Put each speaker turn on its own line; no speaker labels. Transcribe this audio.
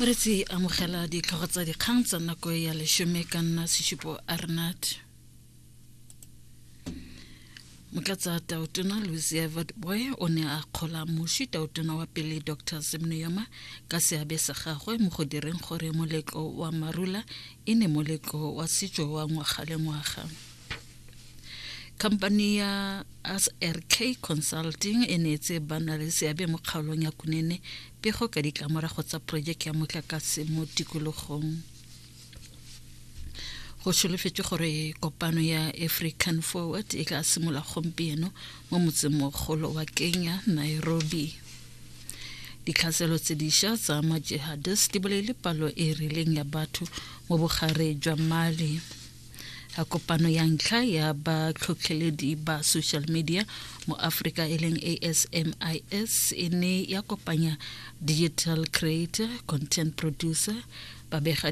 Moretsi, amogela ditlhogo tsa dikgang tsa nako ya leshome ka nna Seshupo Arnat. Motlatsa Tautona Lucia Witbooi o ne a kgola moši Tautona wa pele Dr Sam Nujoma ka seabe sa gagwe mo go direng gore moletlo wa Marula e ne moletlo wa setso wa ngwaga le ngwaga. Khamphani ya SRK Consulting e neetse ba na le seabe mo kgaolong ya Kunene pego ka ditlamorago tsa porojeke ya motlakase mo tikologong. Go solofetswe gore kopano ya African Forward e tla simolola gompieno mo motsemogolo wa Kenya, Nairobi. Ditlhaselo tse dišwa tsa ma-jihadist di bolaile palo e e rileng ya batho mo bogare jwa Mali. A kopano ya ntlha ya batlhotlheledi ba social media mo Afrika e leng ASMIS e ne ya kopanya digital creator, content producer, babega